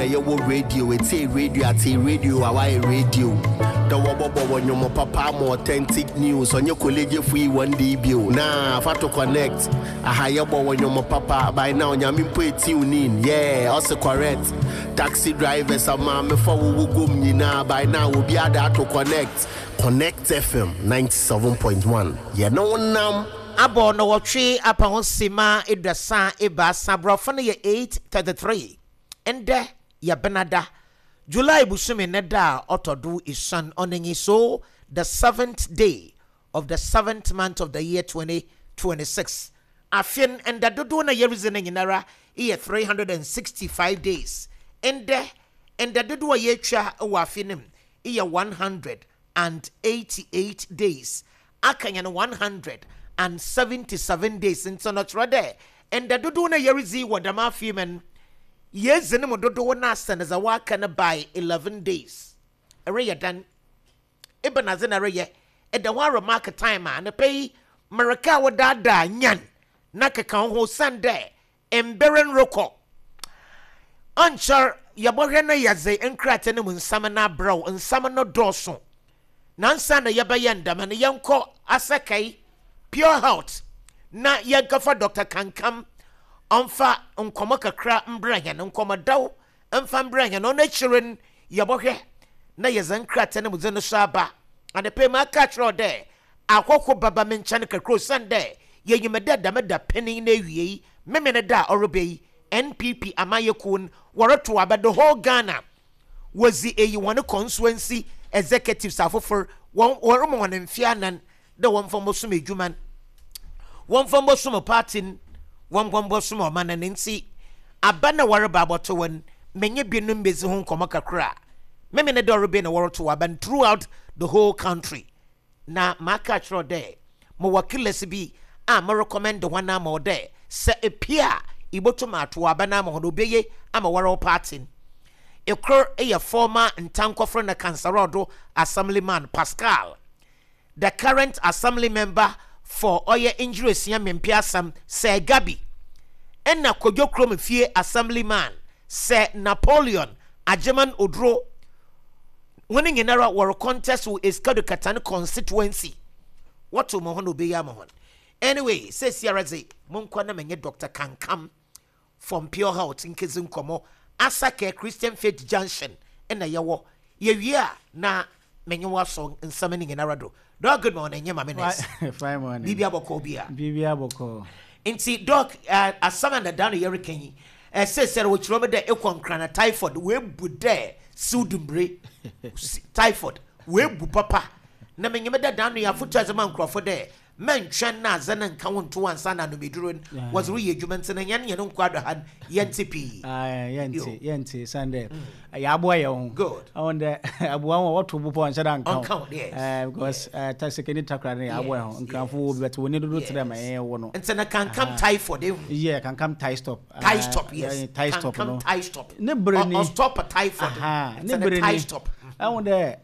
yɛwɔ radio, etie radio atee radio a wayɛ radio. Dɛ wɔbɔbɔ wɔ nnwom papa ama authentic news, ɔnyɛ kolegyefo yi wɔn de bio. Nah, fa to connect. Aha yɛbɔ wɔ nnwom papa, by now Nyame mpo etune in, yeah, ɔse correct. Taxi drivers, amaamefo a wɔwɔ guom nyinaa, by now obi ada ato connect. Connect FM 97.1, yɛne wo nam. Abɔ nnɔwɔtwe apa ho simma 33, Borɔfo no yɛ 8:33. Ndɛ yɛ Benada, July bosome ne da a ɔtɔ do esuon, ɔno nye so the seventh day of the seventh month of the year 2026. Afe no, nda dodow no a yeridzi no nyinara yɛ 365 days. Ndɛ, nda dodow a yeetwa wɔ afe no mu yɛ 188 days. Aka hɛn 177 days ntsi no kyerɛ dɛ nda dodow no a yeridzi wɔ dɛm afe yi mu no, yeedzi no mu dodow no asen dza wɔaka no by 11 days. Ereyɛ dɛn? Ebɛnadze na ereyɛ? Eda ho ara mark time a, anapa yi mereka wo daadaa nyan na keka woho osiandɛ mber no rokɔ. Ɔnnkyɛr yɛbɔhwɛ na yɛdze nkrataa no mu nsɛm no abrɛ wo. Nsɛm no dɔɔ sõ. Na ansaana yɛbɛyɛ ndɛm no, yɛnkɔ Asɛkɛe Pure Health na yɛnkɛfa Dɔkta Kankam ɔmfa nkɔmbɔ kakra mbrɛ hɛn, nkɔmbɔdɛw mfa mbrɛ hɛn. Ɔno ekyir no, yɛbɔhwɛ na yɛdze nkrataa no mu dze no so aba. Anapa yi, maka akyerɛ wo dɛ ahɔho bɛba me nkyɛn kakra osiandɛ yenyim dɛ dɛm dapɛn yi n'ewiei, Memeneda a ɔreba yi, NPP amanyɛkuw no wɔrotow aba the whole Ghana. Wodzi eyi hɔn consuency executives afofor, wɔrema hɔn mfe anan dɛ wɔmfa mbɔsom edwuma no, wɔmfa mbɔsom party no, wɔmfa mbɔsom ɔman no. Ntsi aba no a wɔreba abɔtow no, menye binom bedzi ho nkɔmbɔ kakra. Memeneda ɔreba yi na wɔrotow aba no throughout the whole country. Na maka akyerɛ wo dɛ mowɔ killers bi a mo recommend hɔn ama wo dɛ sɛ epue a ibotum atow aba no ama hɔn, obeye ama woara wo party no. Kor yɛ former Ntankɔfor na Kansarɔdo Assemblyman Pascal, the current Assembly member for ɔyɛ Ngyirosua Mempeasam Sir Gabi, nna Kodwo Krom Fie Assemblyman Sir Napoleon Agyeman Oduro. Hɔn nyinara wɔro contest wɔ Essikado Ketan constituency. Wɔtow ma hɔn na obeyi ama hɔn. Anyway, seseiara dze, monkɔ na menye Doctor Kankam from Pure Health nkedzi nkɔmbɔ. Asakɛ Christian Faith Junction na yɛwɔ. Yewie a na menye wo asɔ nsɛm no nyinara do. Doc, good morning, nye Maame Nurse. Fine morning. Biribia bɔkɔɔ bi a? Biribia bɔkɔɔ. Ntsi Doc, asɛm a dada no yɛreka yi, seseiara wɔkyerɛ me dɛ ekɔ Nkran a typhoid woebu dɛ Siw dumbire, typhoid, woebu papa, na minyim dɛ da ano yi afotu a edze ma nkorɔfo dɛ mɛnntweɔn na adze no nnka wo nnto ansaana anom edur no wɔdze reyɛ edwuma ntsi no hɛn hɛn nkwa do ha no yɛnntse pii. Ae, yɛnntse, yɛnntse, osiandɛ yɛaboa hɛnho. Good. Ɔwo dɛ aboa ho a wɔtow bo paa ɔnnhyɛ da nnka wo. Ɔnnka wo, yes. Eh, because eh, ta sekeni takra no yɛaboa hɛnho. Nkranfo wɔ bi but wɔnni dodo tse dɛ ma hɛn yɛwɔ no. Ntsi no kankam typhoid ehu. Yeah, kankam tie stop. Tie stop, yes. Tie stop no. Kankam tie stop. Ne bere ni. Ɔ stop typhoid. Aha, ne bere ni. Ɛho dɛ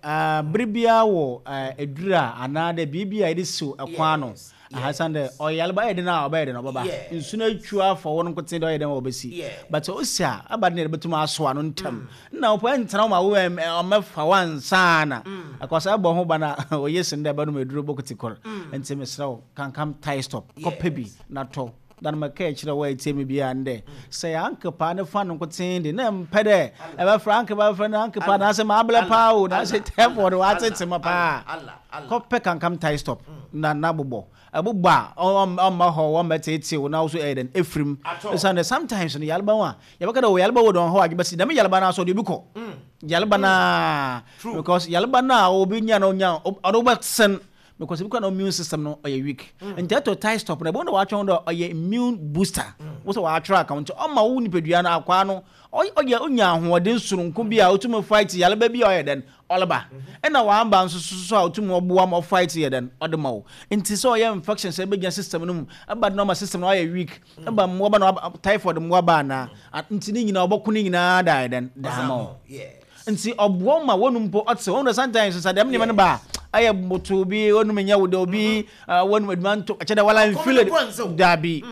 bere biara wɔ aduru a anaa dɛ biribi a yɛde siw ɛkwan ano. Aha san dɛ ɔyarba ɛyɛ den a ɔbɛyɛ den ɔbɛba. Nsu no atwa afa hɔ no nkotsee dɛ ɔyɛ dɛn ɔbɛsi. But osi a aba den dɛ yɛbɛtum asow ano ntɛm. Nna ɔpo ɛntsena hɔ ma wo ɔmmɛfa wo ansaana. Ɛkɔ sɛ ɛbɔ ho ban a oye sen dɛ ɛbɛnom aduru bokiti kor. Ntsi mesrɛ wo kankam tie stop kɔpɛ bi na tɔ. Da no mekãe kyerɛɛ wo a etsie me biara no dɛ, sɛ yɛ uncle paa ne fan nkotsee de, nna mmpɛ dɛ ebɛfrɛ uncle bɛfrɛ no uncle paa anaasɛ mablɛ paa o, naasɛ typhoid ɔatsetse me paa. Kɔpɛ kankam tie stop na na bobɔ. Ebobɔ a, ɔmma hɔ, wɔmmbɛtseetsee wo na wo so eyɛ dɛn efir mu. Osiandɛ sometimes no yarba ho a, yɛbɛka dɛ oh yarba wɔ do ɔnnhaw adwen but dɛm yarba no ara so ɔde obi kɔ. Yarba no ara because yarba no a obi nya no onya ɔde wo bɛsen. Because ebi kora na immune system no ɔyɛ weak. Mm. Nti ɛtɔ tie stop na ɛbɛn na wɔatwɛn dɛ ɔyɛ immune booster. Mm. Wosɛ wɔatwerɛ aka nti ɔma wo nipadua no akwaa no ɔyɛ onya ahoɔden soronko bi a otumi fight yareba bi a ɔyɛ dɛn ɔleba. Mm-hmm. Ɛna wamba nso so a otumi ɔboa ma ɔfight yɛ dɛn ɔde ma wo. Nti sɛ ɔyɛ infection sɛ ɛbɛgyina system no mu ɛba na ɔma system no ɔyɛ weak. Mm. Ɛba mmoaba na typhoid mmoaba anaa. Nti ne nyinaa ɔbɔko ne nyinaa da yɛ dɛn da ama wo. Ntsi ɔboa wo ma w'enum mpo ɔtsew. Wohu dɛ sometimes sɛ dɛm ndzɛmba no ba a, ayɛ botow bi, w'enum nnyɛ wo dɛ, obi w'enum edwuma nnto, kyerɛ dɛ wala mmfeel it. Dabi.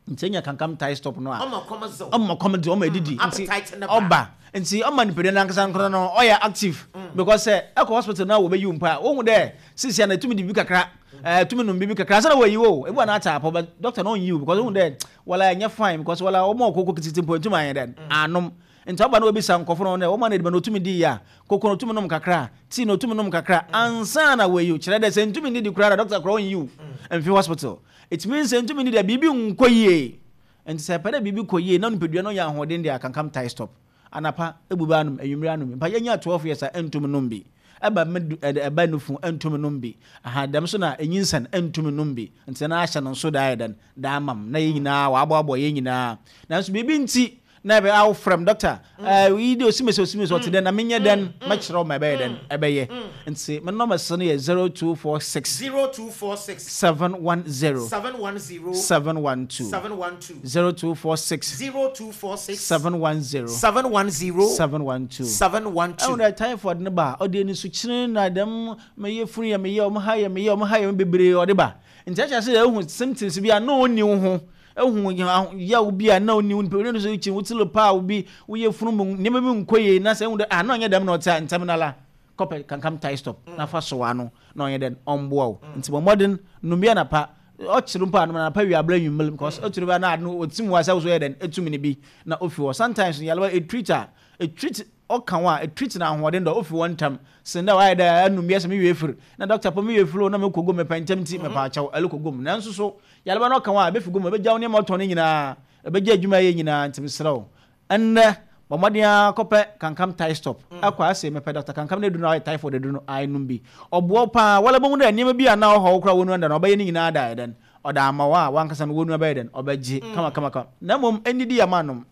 Nti enya kankam tie stop no a, Ɔma kɔm dze wo. Ɔma kɔm dze wo, ɔma edidi. Nti Appetite no ba. Ɔba. Nti ɔma nipadua no ankasa nkora no ɔyɛ active. Because sɛ ɛkɔ hospital na wɔbɛyi wo mpo a, wohu dɛ sesia no etumi di biribi kakra, etumi nom biribi kakra ansa na wɔayi wo o. Ebi wɔ hɔ a na atse apɔ but doctor no onnyi wo because ohu dɛ wala ɛnyɛ fine because wala wɔma wo koko ketseketse mpo enntum annyɛ dɛn annom. Ntsi ɔba na obisa nkorɔfo no dɛ wɔma no edziban otumi dii a, koko no otumi nom kakra a, tea no otumi nom kakra a ansaana oeyi wo. Kyerɛ dɛ sɛ nntum nndidi koraa a doctor koraa onnyi wo mmfi hospital. It means sɛ nntum nndidi a biribi nnkɔ yie. Ntsi sɛ epɛ dɛ biribi kɔ yie na nyimpadua no nya ahoɔden de a, kankam tae stop. Anapa ebu bɛ anom, ewimbir anom bi. Mpa yenya 12 years a nntum nnom bi. Ɛba me du ɛdɛ ɛba nufu nntum nnom bi. Aha dɛm so na enyinsen nntum nnom bi. Ntsi na ahyɛ no nso daa ayɛ dɛn? Daa ama m' na yɛn nyinaa wɔaboaboa yɛn nyinaa. Nanso biribi ntsi na ɛbɛ a wofrɛ me dɔkta ɛɛ yi de osimesi osimesi ɔte dɛn na menyɛ dɛn mɛkyerɛ wo ma ɛbɛyɛ dɛn ɛbɛyɛ. Ntsi me nɔmba no yɛ 0246. 0246. 710. 710. 712. 712. 0246. 0246. 710. 710. 712. 712. Ɛhu dɛ typhoid no ba a ɔde anisukyene na dɛm meyɛ funu yɛ meyɛ ɔmo ha yɛ meyɛ ɔmo ha yɛ me bebree ɔde ba. Ntsi ɛkyerɛ sɛ ehu symptoms bi a na onni wo ho, ehu yaw bi a na onni wo nipadua no so kyin, wo tsir paa wo bi, wo yafunu mu ndzɛmba bi nnkɔ yie na sɛ ehu dɛ ah na ɔnnyɛ dɛm na ɔtse a ntsɛm nala kɔpɛ kankam tie stop na fa sɔw ano na ɔnyɛ dɛn ɔmboa wo. Ntsi bɔ mbɔden nom bi anapa, ɔkyer mpo a nom no anapa ewia aber ewimbir because ɔkyer bi a na ade no otsim wo a sɛ wo so eyɛ dɛn etum no bi na ofi hɔ. Sometimes no yarba etreat a etreat Ɔka ho a, etreat no ahoɔden dɔ ofi hɔ ntsɛm sen dɛ ɔayɛ dɛ anum bi asɛ me werɛ efir na doctor po me werɛ efir o na mekɔ guam mepɛ ntsɛm ntsi mepaakyɛw ɛlokɔ guam. Nanso so yarba no ɔka ho a, ebefi guam ebegya wo nneɛma ɔtɔn no nyinaa, ebegya edwuma a eyɛ nyinaa ntsi meserɛ wo ndɛ bɔ mbɔden ara kɔpɛ kankam tie stop kɔ ase mepɛ doctor kankam n'edur no a ɔyɛ typhoid edur no ae nom bi ɔboa wo paa woara bohu dɛ nneɛma bi a nna ɔhaw wo koraa wɔ nua da no ɔbɛyɛ ne nyinaa da ayɛ dɛn Ɔda ama wo a wankasa no wonua bɛyɛ dɛn ɔbɛgye kama kama kama na mmom ɛnidi yɛ ma nom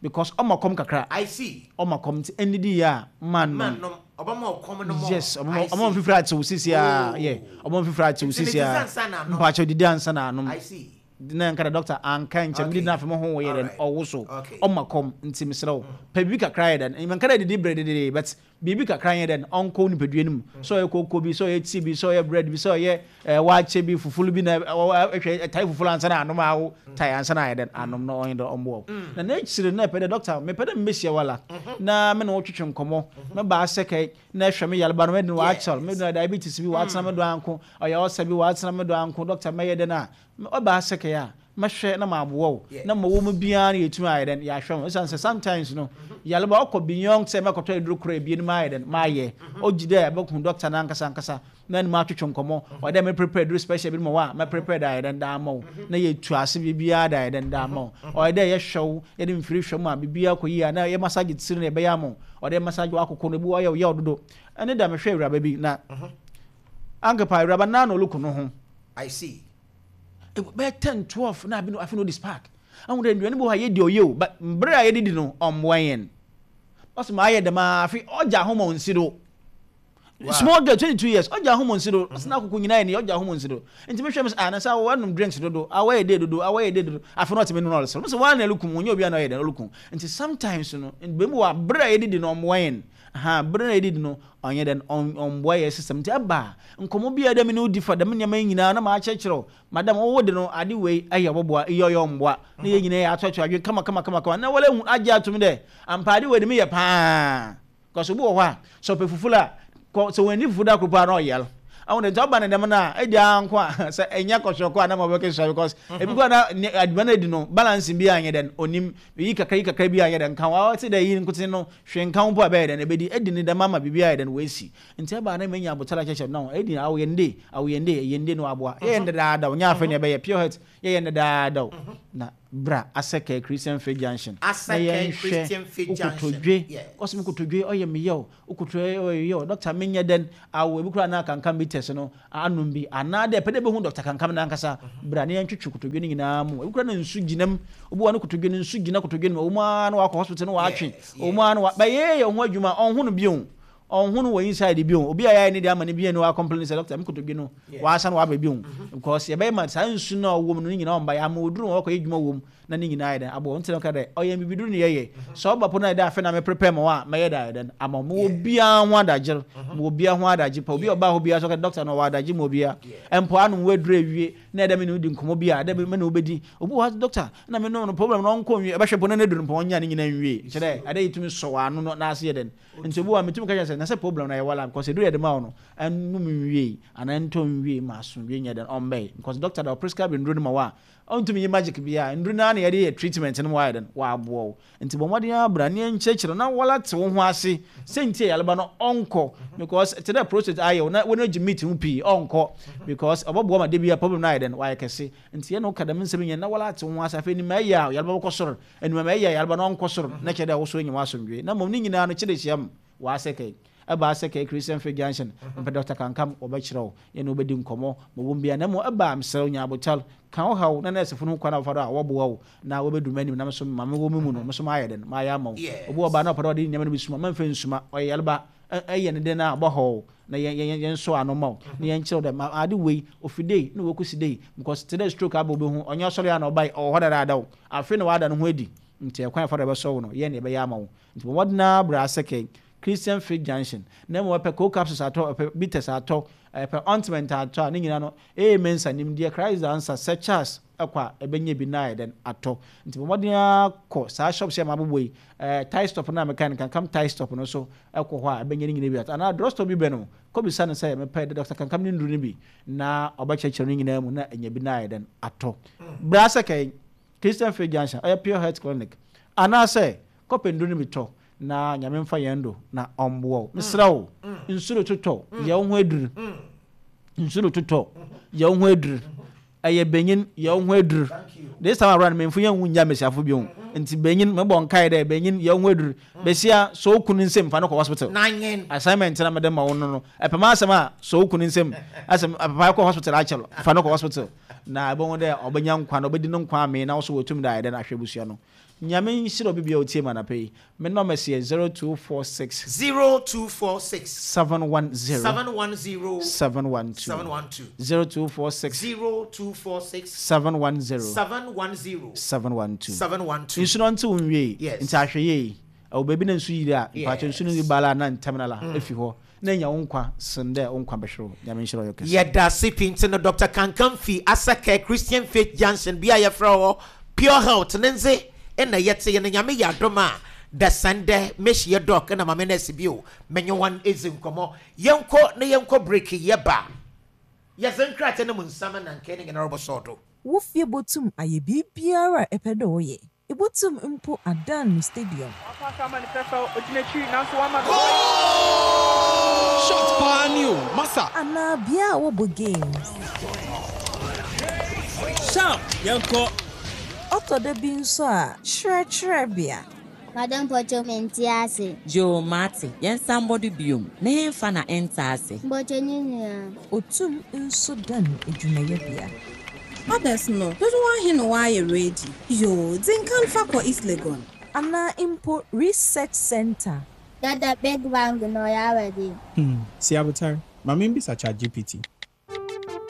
because ɔma kɔm kakra I see. Ɔma kɔm nti ɛnidi yɛ a ma nom. Ma nom ɔbɛma ɔkɔm no more. Yes ɔbɛma I ɔbɛma see. mfifiri atew sisi a yeah Oh. ɔbɛma mfifiri atew Nti sisi medidi a ansa na anom. mpakyɛw didi ansa na anom. I see. Na nka dɛ doctor anka nkyɛ Okay. medidi na afei mo ho yɛ dɛn Alright. ɔwo so Okay. ɔma kɔm nti mesrɛ wo pɛ biribi kakra yɛ dɛn menka dɛ didi brededede but Biribi kakra nyɛ dɛn, ɔnkɔ wo nipadua no mu. Sɛ ɔyɛ koko bi, sɛ ɔyɛ tea bi, sɛ ɔyɛ bread bi, sɛ ɔyɛ eh, waakye bi, fufulu bi na ɛhwɛ ɛtae fufulu ansa na anom awo tae ansa na ayɛ dɛn anom na ɔnyɛ dɛn ɔmmoa wo. Na n'akyiri no na ɛpɛ dɛ dɔkta mepɛ dɛ mmehyia wo ala na me ne wo twetwe nkɔmmɔ, mɛba asɛkɛe na ɛhwɛ me yareba no mɛde no waakyɛl, me diabetes bi waatena me do anko, ɔyɛ ɔsa bi waatena me do anko, dɔkta mɛyɛ dɛn a Ɔba asɛkɛe a, mɛhwɛ na maboa wo na ma ɔwɔ mu biara no yɛtumi ayɛ dɛn yɛahwɛ ho. Ɛsiane sɛ sometimes no yareba ɔkɔ beyond sɛ mɛkɔtɔ aduro koro ebien mayɛ dɛn mayɛ. Ɔgye dɛ ɛbɛhu doctor no ankasa ankasa na ne mu atwetwe nkɔmmɔ. Ɔyɛ dɛ me prepare aduro special bi ma wo a mɛ prepare de ayɛ dɛn de ama wo na yɛtu ase biribiara de ayɛ dɛn de ama wo. Ɔyɛ dɛ yɛhwɛ wo yɛde mfiri hwɛ mu a biribiara kɔ yie a na yɛ massage tiri no yɛbɛyɛ ama wo. Ɔyɛ dɛ massage w'akoko no ebi wɔ hɔ a ɔyɛ wo yaw dodo. Ɛne da mehwɛ awuraba bi na ankepa awuraba no ara na ɔreku no ho. I see. Bɛyɛ 10, 12 na abi no afei na ɔdi spark. Ahu dɛ nduane bi wɔ hɔ a yɛdi ɔyɛ o, but mbrɛ a yɛdidi no ɔmboa yɛn. Ɔsɛ ma ayɛ dɛm ara afei ɔgya ahoma onnsi do. Wow. Small girl, 22 years, ɔgya ahoma onnsi do. Ɔsɛ n'akoko nyinaa yɛ ne ɔgya ahoma onnsi do. Nti mehwɛ me sɛ ah na sɛ awɔ anom drinks dodo, awɔ yɛ dɛ dodo, awɔ yɛ dɛ dodo. Afei na ɔte me no na ɔreserew. Mesɛ woara na ɛrekum, ɔnyɛ obiara na ɔyɛ dɛn ɔrekum. Nti sometimes no, mbom wɔ aber a yɛdidi no ɔmboa yɛn. Ahaa, ber a yɛdidi no ɔnnyɛ dɛn, ɔmmboa yɛn system. Ntsi ɛba a, nkɔmbɔ bi a dɛ me nye wo dzi fa dɛm ndzɛmba yi nyina na makyerɛkyerɛ wo, madam, wo de no ade wei ayɛ ɔbɔboa, iyi ɔyɛ ɔmmboa, na hɛn nyina yɛatoatoa adwen kama kama kama kama na woara ehu agye ato mu dɛ ampa ade wei de meyɛ paa. Cause obi wɔ hɔ a, sɛ ɔpɛ fufu a, kɔ sɛ oennyi fufu da kor po a na ɔyar. Ahu dɛ ntsi ɔba no dɛm no a, edi ara nko a sɛ ennyɛ kɔhwɛkɔ a na ma ɔbɛkesua because ebi koraa na ne aduban a edi no balance bi annyɛ dɛn onnyim, iyi kakra iyi kakra bi annyɛ dɛn nka ho, ɔtse dɛ iyi nkotsee no Hwee nka ho mpo a ɛbɛyɛ dɛn? Ɛbɛdi adi ne dɛm ama biribi ayɛ dɛn? Wasi. Nti ɛbaa na manya abotare akyɛkyɛ no. Ɛdi awo yɛn de, awo yɛn de, yɛn de no aboa. Yɛyɛ no dedaada o, nyɛ afei na ɛbɛyɛ. Pure heart, yɛyɛ no dedaada o. Na bra Asɛkɛɛ Christian Faith Junction na Asɛkɛɛ yɛnhwɛ Christian Faith wo Junction, kotodwe. yes. Ɔse me kotodwe ɔyɛ me yaw, wo kotodwe ɔyɛ me yaw. Doctor menyɛ dɛn? Awo, ebi koraa na kankam bitters no anom bi anaa dɛ epɛ dɛ ebohu Dɔkta Kankam nankasa, bra na yɛntwetwe kotodwe no nyina mu. Ebi koraa na nsu gyina mu. Obi wɔ hɔ a no kotodwe no nsu gyina kotodwe no mu. Ɔwɔ mu ara na ɔakɔ hospital na ɔatwe. Ɔwɔ mu ara na ɔa but yɛyɛ hɛn ho edwuma a, ɔnnho no bio. Ɔnho no wɔ inside bio. Obi a yɛayɛ ne deɛ ama no bi ɛne wa complain sɛ doctor me kotodwe no wasan waba bio because yɛbɛyɛ ma saa nsu no a ɔwɔ mu no ne nyinaa ɔmba yɛama oduru ma wakɔyɛ adwuma wɔ mu na ne nyinaa ayɛ dɛn aboa nti na ɔka dɛ ɔyɛ bibiduru ne yɛyɛ sɛ ɔba po no ayɛ dɛ afei na me prepare ma wo a mɛyɛ dɛ ayɛ dɛn ama wo mewɔ biara ho adagyer mewɔ biara ho adagye pa obi a ɔbaa hɔ biara sɛ ɔka dɛ doctor no ɔwɔ adagye ma obiara mpo anom w'aduru awie na ɛdɛ me ne wo di nkɔmmɔ bi a ɛdɛ me ne wo bɛdi obi wɔ hɔ doctor na me nom no problem no ɔnkɔ nwie ɛbɛhwɛ po na n'aduru no mpo ɔnnya ne nyinaa nwie kyerɛ dɛ ɛdɛ yɛtumi sɔ wɔ ano no n'ase yɛ dɛn Nti obi wɔ hɔ a metumi ka kyerɛ no sɛ na sɛ problem no ayɛ wala because aduru a yɛde ma wo no ɛnnom nwiei anaa ɛntɔ nwiei ma asomdwoe nyɛ dɛn ɔmmɛe because doctor da ɔprescribe nnuru no ma wo a ɔntumi nyɛ magic biara nnuru no ara na yɛde yɛ treatment no ma wayɛ dɛn waboa wo nti bɔ mmɔden ara bra na yɛnkyerɛkyerɛ wo na wala te wo ho ase sɛ nti a yareba no ɔnkɔ because te dɛ prostate ayɛ wo na w'ani gye meat ho pii ɔnkɔ because ɔbɛboa ma da biara problem no ayɛ dɛn wayɛ kɛse nti yɛne wo ka dɛm nsɛm nyɛ na wala te wo ho ase afei nim ɛyɛ a yareba bɛkɔ soro Enuam ɛyɛ a yarba no ɔnnkɔ sor na kyerɛ dɛ wo so enya w'asomdwee na mbom ne nyina no kyerɛ hyia mu wɔ Asɛkɛe. Ɛba Asɛkɛe Christian Faith Junction, mepɛ Dɔkta Kankam, wɔbɛkyerɛ wo, yɛne wo bɛdi nkɔmmɔ ma ɔwɔ mu biara na mmom ɛba a mesrɛ wo nya abotar, ka wo haw na nɛɛsefo no ho kwan a wɔfa do a wɔboa wo na wɔbɛdu m'anim na me so ma mewɔ me mu no me so mayɛ dɛn mayɛ ama wo. Obi wɔ ba na ɔpɛ dɛ ɔde nneɛma no bi suma, mma mfa nsuma, ɔyɛ yarba, ɛyɛ no dɛn a ɔbɔhaw wo na yɛn yɛn yɛnsɔ ano mma wo na yɛnkyerɛ wo dɛ ma ade wei ofi dei na wokosi dei because tse dɛ stroke aba obi ho ɔnnyɛ ɔsɔre a na ɔbae ɔwɔ hɔ dadaada o afei na ɔada no ho adi ntsi ɛkwan a ɛfa do a ɛbɛsɔ wo no yɛn na yɛbɛyɛ ama wo ntsi bɔ mbɔden ara bra Asɛkɛi Christian Faith Junction na mbom ɛpɛ cold capsules atɔ ɛpɛ bitters atɔ ɛpɛ ointment atɔ a ne nyinaa no ee Mensa nimdeɛ Christ the answer Sir Charles kɔ a ɛbɛnya bi na ayɛ dɛn atɔ nti bɔ mmɔden ara kɔ saa shops yi a mabobɔ yi ɛɛ tie stop no a mekae no Kankam tie stop no so kɔ hɔ a ɛbɛnya ne nyinaa bi atɔ anaa drug store bi bɛn wo kɔ bisa no sɛ mepɛ Doctor Kankam ne nnuru no bi na ɔbɛkyerɛkyerɛ no nyinaa mu na anya bi na ayɛ dɛn atɔ bra sɛ kɛn Christian Faith Junction ɔyɛ Pure Health Clinic anaasɛ kɔpɛ nnuru no bi tɔ na Nyame mfa yɛn do na ɔmboa wo mesrɛ wo nsu rototɔ yɛ wo ho aduru nsu rototɔ yɛ wo ho aduru Ɛyɛ banyin, yɛ woho edur. This time around, memfo yɛnnwu nngya mbasiafo bio. Ntsi banyin, mobɔ nkae dɛ, banyin, yɛ woho edur. Basia, sɔ wo kun nsamu fa no kɔ hospital. Assignment na mede ma wo no no, epɛ m'asɛm a, sɔ wo kun nsamu. Asɛ papa kɔ hospital akyɛr, fa no kɔ hospital. Na ebohu dɛ ɔbɛnya nkwa na obedi no nkwa amee na wo so woetum dze ayɛ dɛn ahwɛ ebusua no. Nyame nhyira obi biara a otsie me anapa yi. Me numbers yɛ 0246. 0246. 710. 710. 712. 712. 0246. 0246. 710. 710. 712. 712. Nsu no ɔntsew nwiei. Yes. Ntsi ahwɛ yie. Ɛwɔ beebi na nsu yiri a, mpakyɛw nsu no ba la na ntsɛm no la efi hɔ na enya wo nkwa sen dɛ wo nkwa bɛhwer wo. Nyame nhyira wo yɛ kɛse. Yɛda ase pii nti no Doctor Kankam fi Asakɛ Christian Faith Junction bea a yɛfrɛ hɔ Pure Health ne ndze na yɛtse yi no Nyame yɛ adom a dasan dɛ mehyia Doc na Mame Nurse bio menye hɔn edzi nkɔmbɔ. Yɛnkɔ na yɛnkɔ break yɛba a yɛdze nkrataa no mu nsɛm na nkae no nyinara bɔsɔɔ do. Wo fie botum ayɛ biribiara a epɛ dɛ ɔyɛ. Ibotum mpo adan no stadium. Wapaase ama no fɛfɛw, ogyina akyiri nanso wama no. Goal! Shot paa ni o, masa. Anaa bea a wɔbɔ games. Sharp, yɛnkɔ. Ɔtɔ da bi nso a, kyerɛkyerɛ bea. Madam mpɔkyɛw mente ase. Yoo mate, yɛnsan mbɔ do biom. Ne henfa na enntse ase? Mpɔkyɛw ne nyinaa. Otum nso dan edwumayɛbea. Orders no, dodow ahe na wɔayɛ ready? Yoo, dzi nkan fa kɔ East Legon. Anaa mpo research centre. Dada big bang no ɔyɛ awɛde. Hmm, si abotar, ma mimbisa ChatGPT.